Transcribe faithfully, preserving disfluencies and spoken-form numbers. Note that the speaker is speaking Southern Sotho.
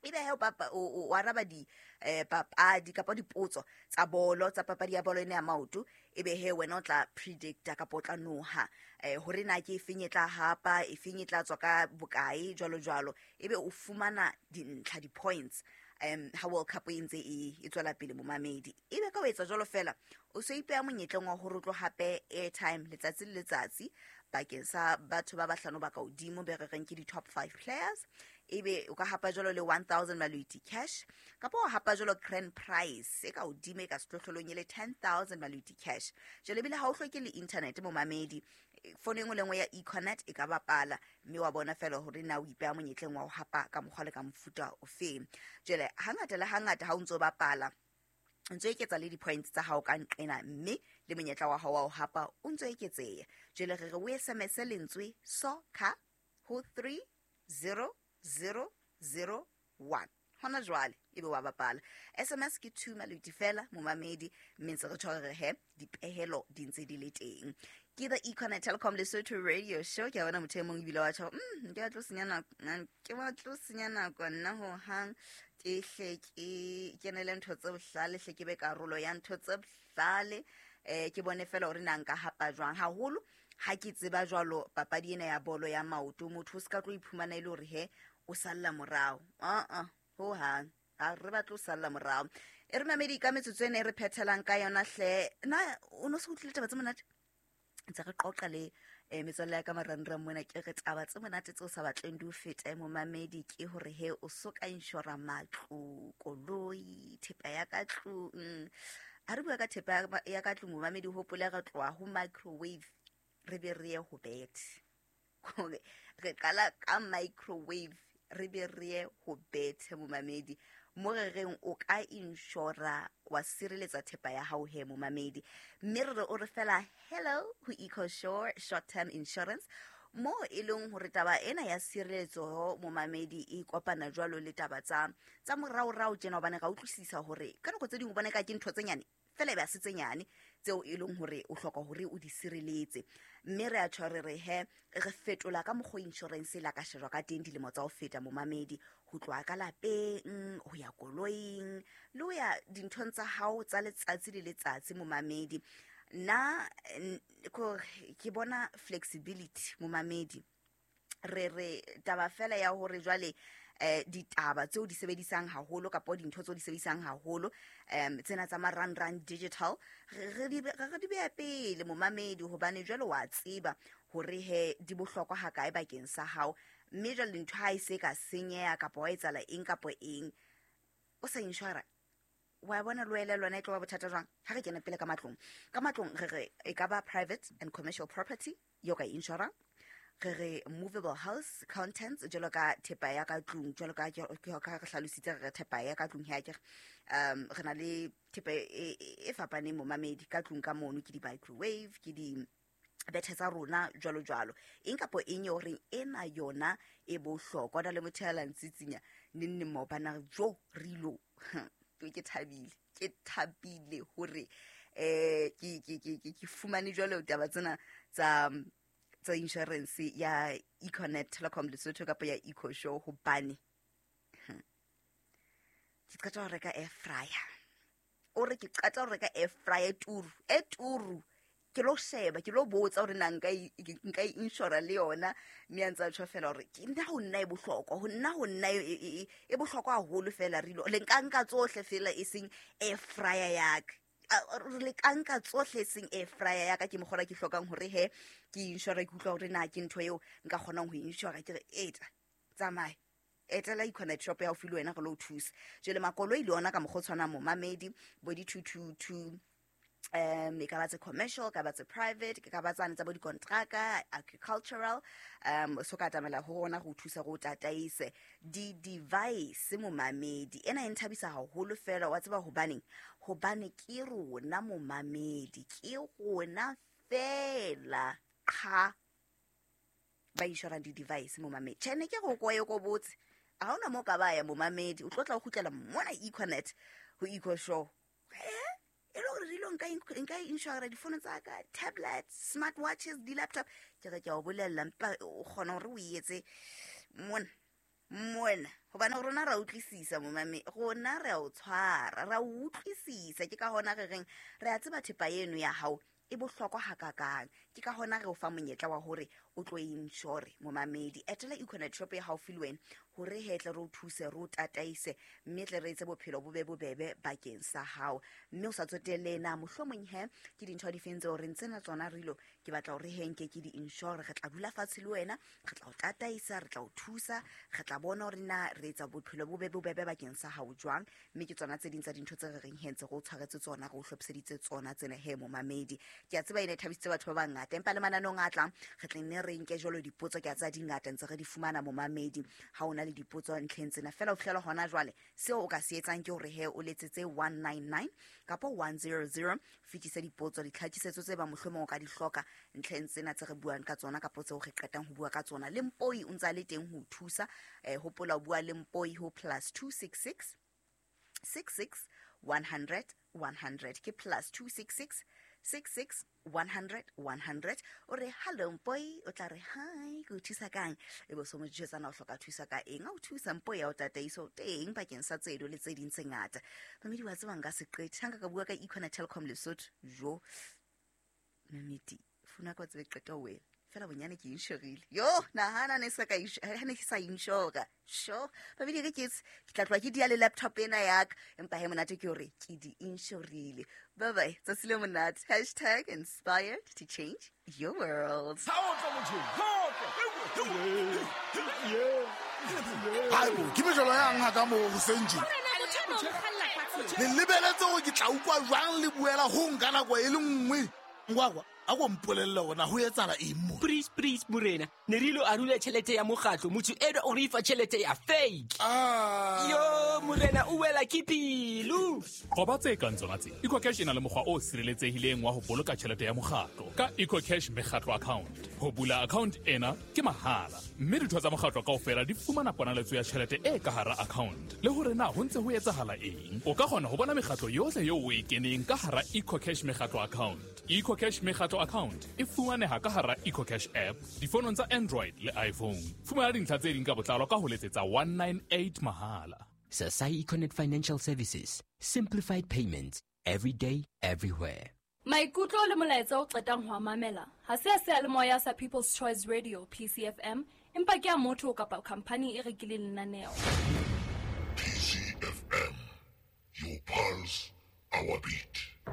Ebe he o papa o o araba di eh papadi kapa dipotso tsa bolo, tsa papadi ya bolo ena ya maoto. Ebe he wena o tla predicta kapa o tla noha eh hore na ke efeng e tla hapa, efeng e tla tswa ka bokae, jwalo jwalo. Ebe o fumana dintlha, di-points, um ha World Cup e ntse e e tswela pele, momamedi. Ebe ka o etsa jwalo fela, o so ipeha monyetleng wa hore o tlo hape airtime letsatsi le letsatsi bakeng sa batho ba bahlano ba ka hodimo, be re reng ke di-top five players. Ebe o ka hapa jwalo le one thousand maloti cash, kapa o hapa jwalo grand prize e ka hodimo e ka sehlohlolong e le ten thousand maloti cash. Jwale ebile ha o hloke le internet, momamedi. Fono e nngwe le nngwe ya Econet e ka bapala, mme wa bona fela hore na o ipeha monyetleng wa ho hapa ka mokgwa le ka mofuta ofeng. Jwale hangata le hangata ha o ntso bapala, ntso eketsa le di-points tsa hao ka nqena, mme le monyetla wa hao wa ho hapa o ntso eketseha. Jwale re re o S M S lentswe soccer ho three zero zero zero one hona jwale, ebe wa bapala. S M S ke two maloti fela, momamedi, mme ntse re tshware re he dipehelo di ntse di le teng. Ke the Econet Telecom Lesotho Radio Show. Ke a bona motho e mong ebile wa tjho, mm ke batlo senya nako, ke batlo senya nako nna hohang, ke hle ke kenele ntho tse bohlale, hle ke be karolo ya ntho tse bohlale, eh ke bone fela hore na nka hapa jwang, haholo ha ke tseba jwalo papadi ena ya bolo ya maoto. Motho o se ka tlo iphumana e le hore he o salla morao. Aa, ho hang ha re batle ho salla morao. E re mamedi, ka metsotso ena e re phethelang ka yona hle, na o no se utlwile taba tse monate? Ntse re qoqa le um metswalle ya ka marangrang mona. Ke re taba tse monate tse o sa batleng di o fete, momamedi, ke hore he o so ka inshora matlo, koloi, thepa ya ka tlung. Ha re bua ka thepa ya- ya ka tlung, momamedi, hopole re tloha ho microwave re be re ye ho bethe. Hore re qala ka microwave re be re ye ho bethe, momamedi, mo re reng o ka inshora wa sireletsa thepa ya hao he, momamedi. Mme re re o re fela hello ho EcoSure short term insurance, mo e leng hore taba ena ya sireletso, momamedi, e kopana jwalo le taba tsa tsa moraorao tjena, hobane ra utlwisisa hore ka nako tse ding o bona ka ke ntho tse nyane fela, e be a se tse nyane tseo e leng hore o hloka hore o di sireletse. Mme re a tjho, re re he re fetola ka mokgwa insurance e la ka shejwa ka teng dilemo tsa ho feta, momamedi, ho tloha ka lapeng ho ya koloing le ho ya dinthong tsa hao tsa letsatsi le letsatsi, momamedi. Nna n- ko- ke bona flexibility, momamedi. Re re taba fela ya hore jwale eh ditaba tseo di sebedisang haholo kapa dintho tseo di sebedisang haholo, um tsena tsa marangrang, digital, re re di re re di beha pele, momamedi, hobane jwale wa tseba hore he di bohlokwa hakae bakeng sa hao. Mme jwale ntho ha e se ka senyeha kapa wa etsahala eng kapa eng o sa inshora, wa bona le wele lona e tlo ba bothata jwang. Ha re kene pele ka matlong, ka matlong re re e ka ba private and commercial property yo ka inshora. Re re movable house contents, jwalo ka thepa ya ka tlung, jwalo ka ke ka re hlalositse, re re thepa ya ka tlung he akere um re na le thepa e e- e fapaneng, momamedi, ka tlung ka mono, ke di-microwave, ke di bethe tsa rona, jwalo jwalo, eng kapo eng e horeng ena yona e bohlokwa. Na le motho ya la ntsitsinya neng neng maobane a re jo re ilo, ke thabile, ke thabile hore eh ke ke ke ke ke fumane jwalo taba tsena tsa tsa insurance ya Econet Telecom Lesotho kapa ya EcoSure, hobane ke qeta ho reka air fryer. O re ke qeta ho reka air fryer turu e turu, ke lo sheba, ke lo botsa hore na nka e nka e insura le yona. Mme a ntse a tjho fela hore ke nna ho nna e bohlokwa, ho nna ho nna e e e bohlokwa haholo fela. Re ilo le nka nka tsohle fela e seng air fryer ya ka. Re le ka nka tsohle e seng air fryer ya ka. Ke mokgwa ke hlokang hore he ke insure, ke utlwa hore na ke ntho eo nka kgonang ho insure. Ke re eta tsamaya, etela Econet shop ya haufi le wena, re lo o thusa. Jwale makoloi le ona ka mokgwa o tshwanang, momamedi, bo di-two two two, um e ka ba tse commercial, ka ba tse private, ke ka ba tsane tsa bo dikontraka, agricultural, um so ka atamela ho rona go thusa, go tataise. Di-device, momamedi, ena e nthabisa haholo fela. Wa tseba hobaneng? Hobane ke rona, momamedi, ke rona fela qha ba insurang di-device, momamedi. Tjhe, ne ke re o koye ko botse, ha hona moo ka ba ya, momamedi, o tlo tla o kgutlela mona Econet ho EcoSure. Eh e le hore dilo nka nka insura difono tsa ka, tablet, smart watches, di-laptop. Ke re ke a o bolella, mpa o kgona hore o etse mona mona Hobane rona ra utlwisisa momame, rona re a o tshwara, ra o utlwisisa. Ke ka hona re reng re a tseba thepa eno ya hao e bohlokwa hakakang. Ke ka hona re o fa monyetla wa hore o tlo insure momamedi. Etela Econet shop e haufi le wena hore he tle re o thuse, re o tataise, mme tle re etse bophelo bo be bobebe bakeng sa hao. Mme o sa tsotelle na mohlomong he ke dintho di feng tseo re ntsena tsona re ilo, ke batla hore he nke ke di insure. Re tla dula fatshe le wena, re tla o tataisa, re tla o thusa, re tla bona hore na re etsa bophelo bo be bobebe bakeng sa hao jwang. Mme ke tsona tse ding tsa dintho tse re reng he ntse re o tshwaretse tsona, re o hlophiseditse tsona tsena he momamedi. Ke a tseba e ne thabisitse batho ba bangata, empa le mananong a tlang re tla nne re nke jwalo dipotso. Ke a tseba di ngata ntse re di fumana momamedi. Ha ona le dipotso ntlheng tsena fela ho fihlela hona jwale, seo o ka se etsang ke hore he o letsetse one nine nine kapa one zero zero, fetise dipotso, ditlhakisetso tse ba mohlomong o ka di hloka ntlheng tsena tse re buang ka tsona kapa tseo re qetang ho bua ka tsona. Le Mpoi o ntse a le teng ho o thusa. Eh, hopola o bua le Mpoi ho plus two six six six six one hundred one hundred. Ke plus two six six six six one hundred one hundred. O re hello Mpoi, o tla re hi, ke o thusa kang? E bo so mo jwetsa na o hloka thusa ka eng? A o thusa Mpoi ya o tataiso teng bakeng sa tsedo le tse ding tse ngata. Mamedi wa tseba nka se qete. Ha nka ka bua ka Econet Telkom Lesotho, jo. Mamedi, funa ka tsebe qeta ho wena. Fela bonyane ke insurile. Yo, nahana ne sa ka ha ne ke sa insure. Sure. Mamedi re ke ke tla tloha ke dia le laptop ena ya ka, empa he monate ke hore ke di insurile. Bye bye. Tsatsi le monate. Hashtag inspired to change your world. Haebo, ke mejolo yang ha ka mo hoseng tje. Le lebeletse hore ke tla utlwa jwang le buela ho nka nako e le nngwe. Ngwakwa, a ko mpolelle hore na ho etsahala eng mo? Please, please, morena. Ne re ilo arula tjhelete ya mokgatlo, motho enwa o re fa tjhelete ya fake. Ah. Yo, morena, o wela ke pelo. Qoba tse kang tsona tse. EcoCash e na le mokgwa o sireletsehileng wa ho boloka tjhelete ya mokgatlo ka EcoCash mekgatlo account. Ho bula account ena ke mahala, mme ditho tsa mokgatlo kaofela di fumana ponaletso ya tjhelete e ka hara account. Le hore na ho ntse ho etsahala eng, o ka kgona ho bona mekgatlo yohle eo o e keneng ka hara EcoCash mekgatlo account. EcoCash mekgatlo account e fumaneha ka hara EcoCash app difonong tsa Android le iPhone. Fumana dintlha tse ding ka botlalo ka ho letsetsa one nine eight mahala. Sasai Econet Financial Services, simplified payments every day, everywhere. Maikutlo le molaetsa o qetang ho a mamela ha se a seyalemoya sa People's Choice Radio P C F M, empa ke a motho kapa khampani e rekileng lenaneo. P C F M, your pulse, our beat.